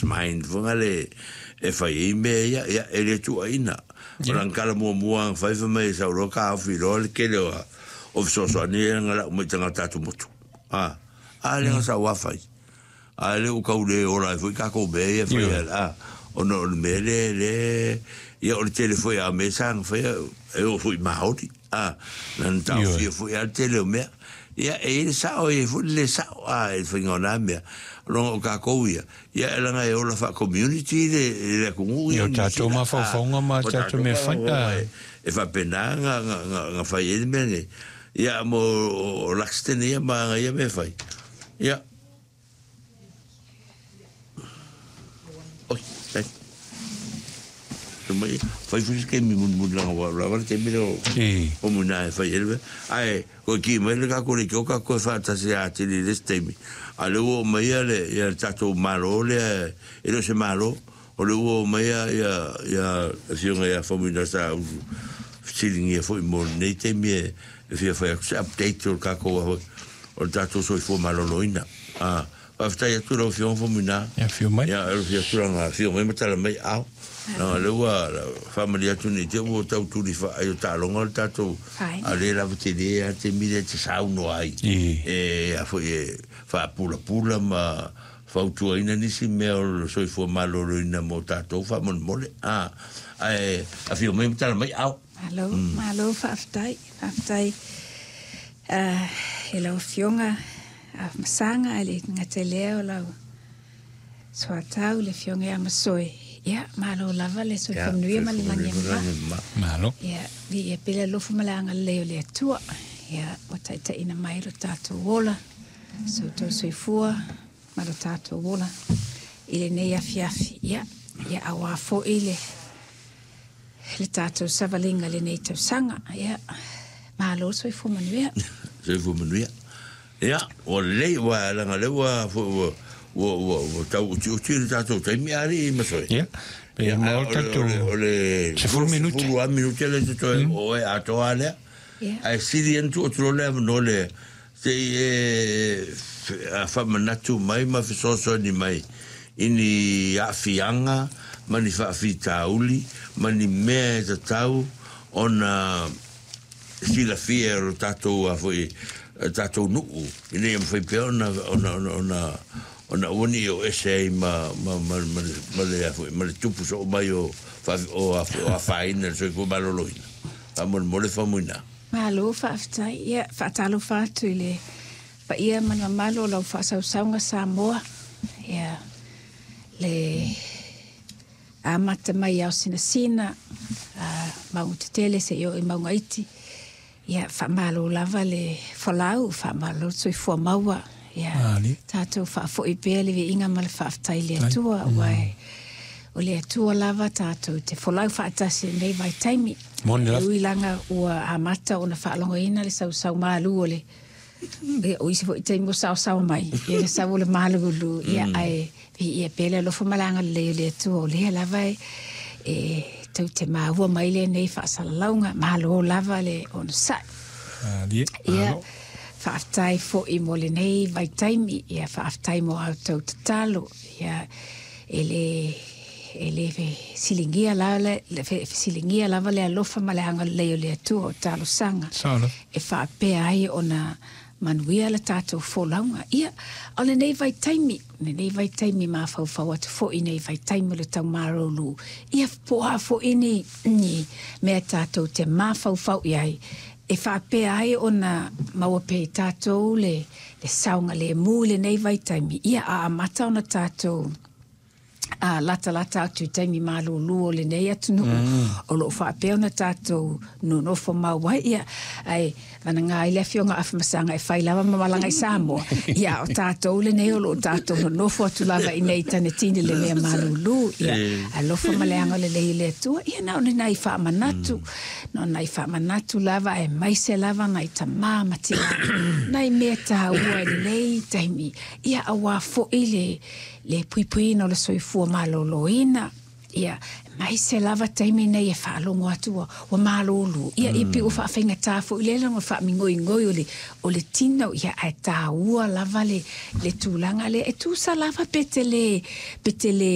Mind foi ngale e fai ai mea ia, ia e le tuuaiina. O lana tala muamua na fai fai mai e sau loa taofi loa le tele o o fesoasoani ia na lau mai i tagata atumotu. A, a lea na sau lava fai. A lea ua tau le ola ai foi tatou mea ia e fai a, ona o le mea lea lea ia o le tele foi a mea sa na faia e oo foi i maoli. A, na na taofia foi lava le tele o mea. Ia, e i ai le sao, e i ai foi le le sao, a, i le faiga o na mea. Leaga o tatou ia, ia e leaga e ola faa-community le, le atunuu ia o tatou mafaufauga ma tatou mea fai. E faapena na, na, na, na fai ai le mea nei. Ia, mo o Luxton ia ma ana ia mea fai. Ia. Oi, ai. Mai, fai foi se taimi mulimuli leaga ua lava le taimi lea o o Muina e fai ai le mea. Ae toe ki mai le tatou leitio tatou toe faatasi atili i le isi taimi. A o lea ua oo mai ia le ia le tatou Malo lea e le o se Malo, o lea ua oo mai ia ia ia le Afioga ia Faumuina sa ou fesiligia foi mo lenei taimi e fia fai atu se update o le tatou o le tatou soifua maloloina. A, faafetai atu i lau Afioga Faumuina. Ia, afio mai. Ia, afio atu lana afio mai ma tala mai ao. Leaga o lea ua faamalie atu ne i te i ua tau tuli faai o taaloga le tatou, a o lea lava tele lava le taimi lea e te saunoa ai. E a foi e faapulapula ma fautuaina nisi mea o le soifua maloloina mo tatou faamolemole. A, ae afio mai ma tala mai ao. Malo, malo faafetai, faafetai i lau Afioga Masaga, e le gata i lea o lau soatau le Afioga ia Masoe. Ia, malo lava le soifua manuia ma le lagi e mama. Malo. Ia, viia pea le alofa ma le agalelei o le Atua. Ia, ua taitaiina mai lo tatou ola, so outou soifua ma lo tatou ola i lenei afiafi. Ia, ia aua foi le le tatou savaliga i lenei tausaga. Ia, malo le soifua manuia. Soifua manuia. Ia, ua lelei, aua leaga o lea ua, foi ua, ua, ua, ua tau utiuti le tatou taimi a alii Masoe. Ia, pe Ia, maua o le, tatou o le, o le 10 minute. 10 lava minute lea e totoe o oe atoa lava lea. Ia. Ae sili ona tuu atu loa le avanoa lea Se i e faamanatu mai ma fesoasoani mai i ni aafiaga ma ni faafitauli ma ni mea e tatau ona silafia e lo tatou foi tatou nuu ina ia mafai pea ona ona ona ona ona aua ne i o ese ai ma ma ma ma ma le foi ma le tupu soo mai o o o afaina i le soifua maloloina. Faamolemole Faumuina. Malo faafetai. Ia, faatalofa atu i le paia ma le mamalu o lau faasausauga Samoa. Ia, le amata mai i Aosinasina, a mauga tetele seia oo i mauga iti. Ia, faamalo lava le folau, faamalo le soifua maua. Ia, tatou faafoi pea le viiga ma le faafetai i le Atua, aua o le Atua lava tatou te folau faatasi i lenei vaitaimi. Moni lava. E ui laga ua amata ona faalogoina le sausau malu o le ia, o isi foi taimi ua saosaoa mai ia le sau o le malulu, ia ae viia pea le alofa ma le agalelei o le Atua, o lea lava e e tou te maua mai lenei faasalalauga. Malo lava le onosai. Ia, faafetai foi mo lenei vaitaimi, ia faafetai mo a outou tatalo. Ia, e le E le fesiligia fesiligia lava le alofa ma le agalelei o le Atua o talosaga e faapea ai ona manuia le tatou folauga. Ia, o lenei vaitaimi, lenei vaitaimi mafaufau atu foi nei vaitaimi o le taumalolo, ia po o a foi ni, ni mea tatou te mafaufau i ai, e faapea ai ona maua pea i tatou le, le saogalemu i lenei vaitaimi, ia a amata ona tatou a latalata atu i taimi malūlū o lenei atunuu o lo o faapea ona tatou nonofo mau ai, ia, ae vanaga ai le Afioga Afamasaga e fai lava ma malaga i Samoa, ia, a o tatou lenei o lo o tatou nonofo atu lava i nei Tanetine le mea malūlū, ia, alofa ma le agalelei o le Atua, ia, na o ni nai faamanatu, na o nai faamanatu lava, aemaise lava nai tamā ma tinā, nai mea taua i lenei taimi, ia, aua foi le le puipuiina o le soifua maloloina, Ia, mai se lava taimi nei e faalogo atu ua, ua malōlō. Ia, ia pei ua faafaigata foi lea ona faamigoigoi o le, o le tino, ia, ae taua lava le, le tulaga lea. E tusa lava pe te le, pe te le